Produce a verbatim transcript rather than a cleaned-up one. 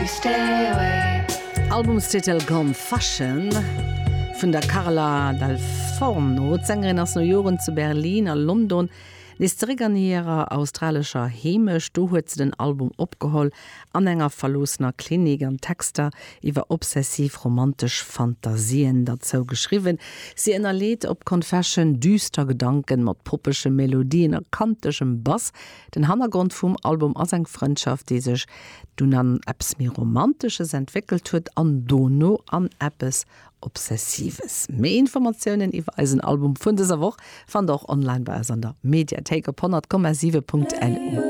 You stay away. Albumstitel Confession vun der Carla Dal Forno. D'Sängerin ass no Joren zu Berlin a London nees zeréck an hirer australescher Heemecht. Do huet se den Album opgeholl an enger verloossener Klinik an Texter iwwer obsessiv romantesch Fantasien dozou geschriwwen. Si ënnerleet op Confession düster Gedanken mat poppege Melodien a kantegem Bass. Den Hannergrond vum Album ass eng Frëndschaft, déi sech dunn an eppes méi Romantesches entwéckelt huet an dono an eppes Obsessives. Méi Informatiounen iwwer eisen Album vun dëser Woch fannt der och online bei eis an der Mediathéik op honnert Komma siwe Punkt LU.